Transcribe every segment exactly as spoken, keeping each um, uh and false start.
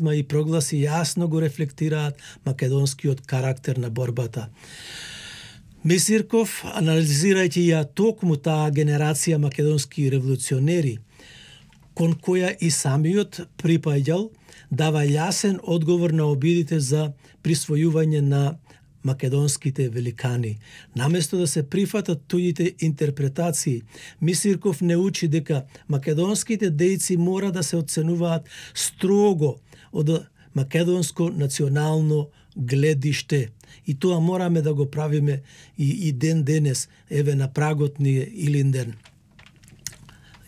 и прогласи јасно го рефлектираат македонскиот карактер на борбата. Мисирков, анализирајќи ја токму таа генерација македонски револуционери, кон која и самиот припаѓал, дава јасен одговор на обидите за присвојување на македонските великани. Наместо да се прифатат туѓите интерпретации, Мисирков не учи дека македонските дејци мора да се оценуваат строго од македонско национално гледиште. И тоа мораме да го правиме и, и ден денес, еве на прагот ни е Илинден.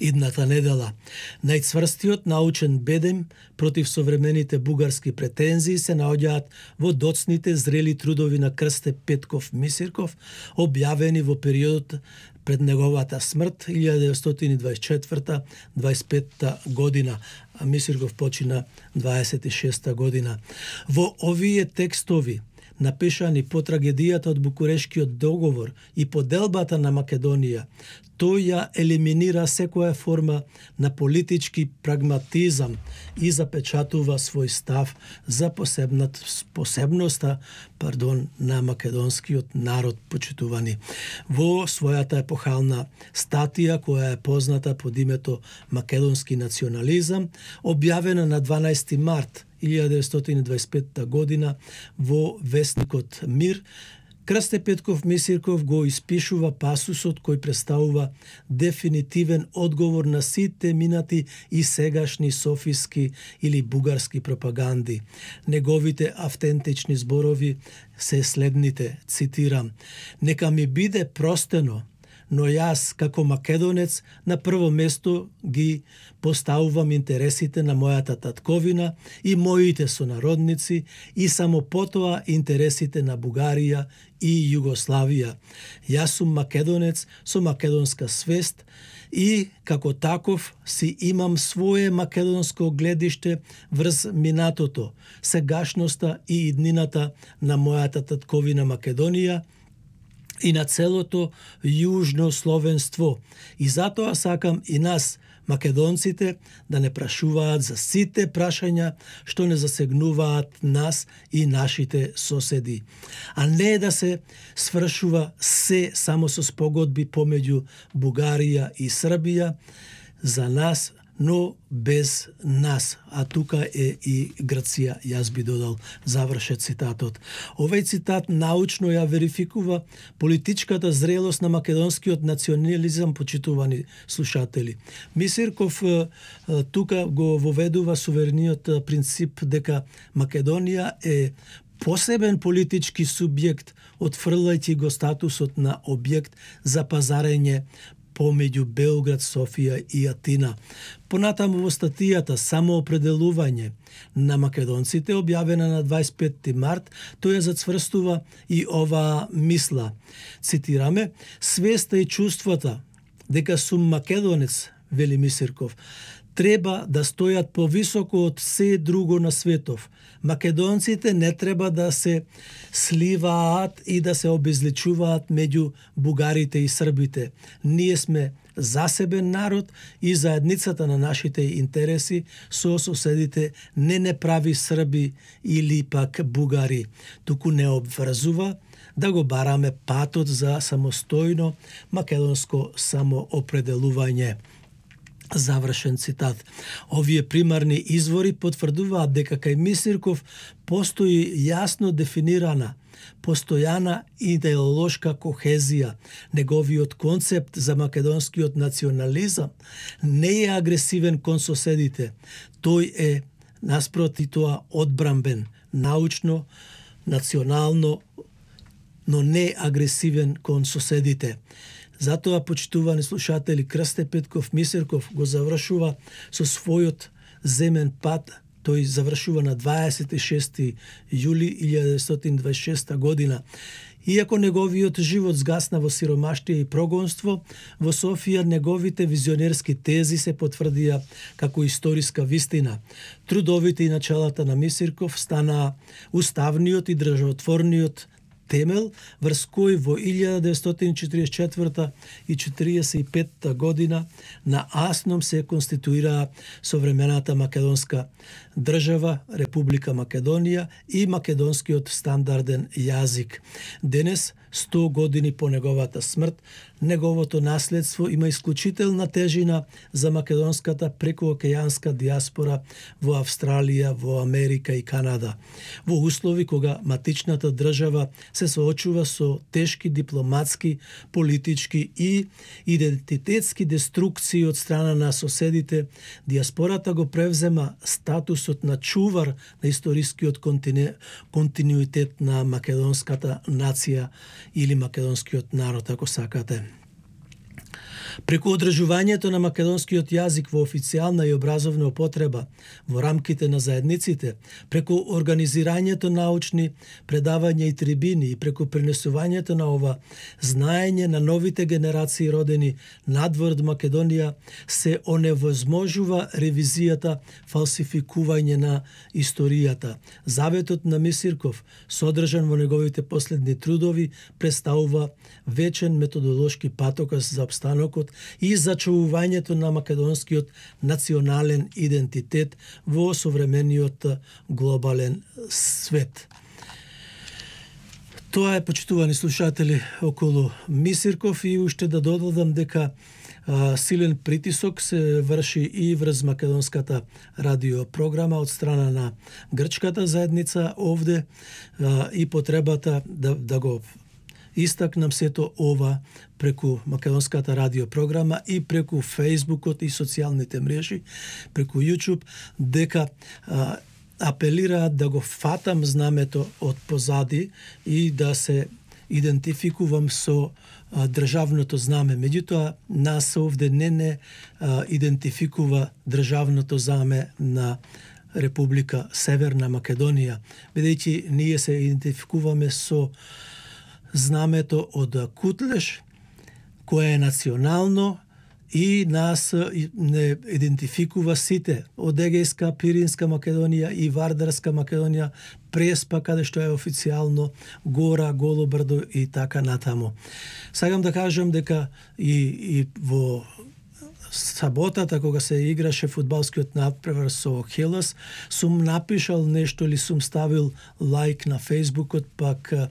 Идната недела. Најцврстиот научен бедем против современите бугарски претензии се наоѓаат во доцните зрели трудови на Крсте Петков Мисирков, објавени во периодот пред неговата смрт илјада деветстотини и дваесет и четврта до дваесет и петта година, а Мисирков почина дваесет и шеста година. Во овие текстови, напишани по трагедијата од Букурешкиот договор и поделбата на Македонија, тој ја елиминира секоја форма на политички прагматизам и запечатува свој став за посебноста пардон, на македонскиот народ, почитувани. Во својата епохална статија, која е позната под името Македонски национализам, објавена на дванаести март илјада деветстотини и дваесет и петта година во весникот Мир, Крсте Петков Мисирков го испишува пасусот кој представува дефинитивен одговор на сите минати и сегашни софиски или бугарски пропаганди. Неговите автентични зборови се следните, цитирам: "Нека ми биде простено, но јас, како македонец, на прво место ги поставувам интересите на мојата татковина и моите сонародници и само потоа интересите на Бугарија и Југославија. Јас сум македонец со македонска свест и, како таков, си имам свое македонско гледиште врз минатото, сегашноста и иднината на мојата татковина Македонија и на целото јужно словенство. И затоа сакам и нас, македонците, да не прашуваат за сите прашања што не засегнуваат нас и нашите соседи. А не да се свршува се само со спогодби помеѓу Бугарија и Србија за нас, но без нас. А тука е и Грција, јас би додал, завршет цитатот. Овој цитат научно ја верификува политичката зрелост на македонскиот национализам, почитувани слушатели. Мисирков тука го воведува суверениот принцип дека Македонија е посебен политички субјект, отфрлајќи го статусот на објект за пазарење помеѓу Белград, Софија и Атина. Понатаму во статијата "Самоопределување на македонците", објавена на дваесет и петти март, тој ја зацврстува и оваа мисла. Цитираме: "Свеста и чувствата дека сум македонец", вели Мисирков, "треба да стојат повисоко од се друго на светов. Македонците не треба да се сливаат и да се обезличуваат меѓу бугарите и србите. Ние сме засебен народ и заедницата на нашите интереси со соседите не не прави Срби или пак бугари, туку не обврзува да го бараме патот за самостојно македонско самоопределување." Завршен цитат. Овие примарни извори потврдуваат дека кај Мисирков постои јасно дефинирана, постојана идеолошка кохезија. Неговиот концепт за македонскиот национализам не е агресивен кон соседите. Тој е, наспроти тоа, одбрамбен, научно, национално, но не агресивен кон соседите. Затоа, почитувани слушатели, Крсте Петков Мисирков го завршува со својот земен пат. Тој завршува на дваесет и шести јули илјада деветстотини и дваесет и шеста година. Иако неговиот живот згасна во сиромаштија и прогонство, во Софија неговите визионерски тези се потврдија како историска вистина. Трудовите и началата на Мисирков станаа уставниот и државотворниот темел врз кој во илјада деветстотини четиридесет и четврта и четиридесет и петта година на Асном се конституираа современата македонска држава, Република Македонија и македонскиот стандарден јазик. Денес, сто години по неговата смрт, неговото наследство има исклучителна тежина за македонската прекуокеанска диаспора во Австралија, во Америка и Канада. Во услови кога матичната држава се соочува со тешки дипломатски, политички и идентитетски деструкции од страна на соседите, диаспората го превзема статусот на чувар на историскиот контину... континуитет на македонската нација или македонскиот народ, ако сакате. Преку одржувањето на македонскиот јазик во официјална и образовна употреба во рамките на заедниците, преку организирањето научни предавања и трибини и преку пренесувањето на ова знаење на новите генерации родени надвор од Македонија, се оневозможува ревизијата, фалсификување на историјата. Заветот на Мисирков, содржан во неговите последни трудови, представува вечен методолошки патоказ за обстанокот и зачувувањето на македонскиот национален идентитет во современиот глобален свет. Тоа е, почитувани слушатели, околу Мисирков, и уште да додадам дека а, силен притисок се врши и врз македонската радиопрограма од страна на грчката заедница овде, а, и потребата да, да го истакнам сето ова преку македонската радиопрограма и преку Фејсбукот и социјалните мрежи, преку YouTube, дека а, апелираат да го фатам знамето од позади и да се идентификувам со а, државното знаме. Меѓутоа, нас овде не не а, идентификува државното знаме на Република Северна Македонија, бидејќи ние се идентификуваме со знамето од Кутлеш, кое е национално и нас не идентификува сите од Егејска, Пиринска Македонија и Вардарска Македонија, Преспа, каде што е официјално, Гора, Голобрдо и така натаму. Сакам да кажам дека и, и во саботата, кога се играше фудбалскиот надпревар со Хелас, сум напишал нешто или сум ставил лайк на Фејсбукот, пак а,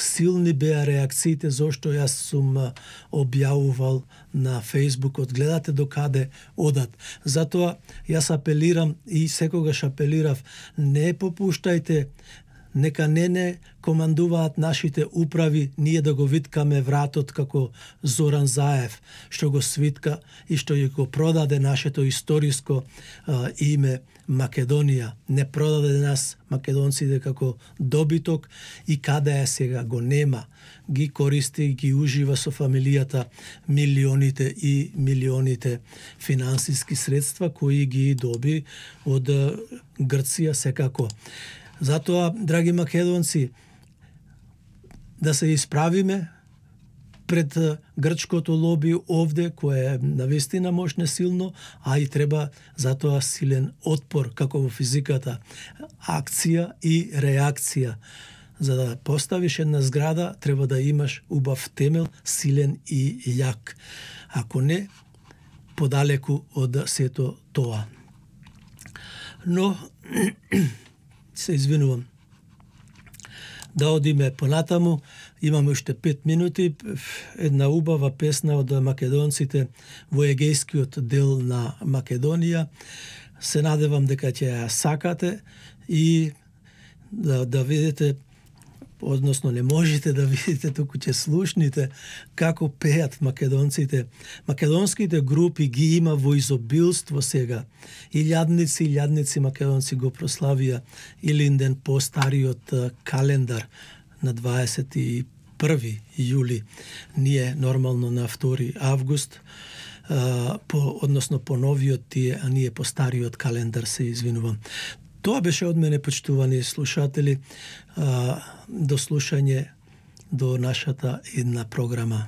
силни беа реакциите зошто јас сум а, објавувал на Фејсбукот. Гледате докаде одат. Затоа јас апелирам и секогаш апелирав, не попуштајте, нека не не командуваат нашите управи, ние да го виткаме вратот како Зоран Заев, што го свитка и што ја го продаде нашето историско а, име Македонија. Не продаде нас македонците како добиток и каде е сега го нема. Ги користи и ги ужива со фамилијата милионите и милионите финансиски средства кои ги доби од Грција секако. Затоа, драги македонци, да се исправиме пред грчкото лоби овде, кое е навистина мощно силно, а и треба затоа силен отпор, како во физиката, акција и реакција. За да поставиш една зграда, треба да имаш убав темел, силен и јак. Ако не, подалеку од сето тоа. Но се извинувам. Да одиме понатаму, имаме уште пет минути, една убава песна од македонците во егејскиот дел на Македонија. Се надевам дека ќе ја сакате и да, да видите, односно не можете да видите, туку ќе слушните како пеат македонците. Македонските групи ги има во изобилство сега. Илјадници, илјадници македонци го прославија Илинден по стариот календар на дваесет и први јули. Ние нормално на втори август, по, односно по новиот тие, а ние по стариот календар, се извинувам. Тоа беше од мене, почитувани слушатели, до слушање до нашата една програма.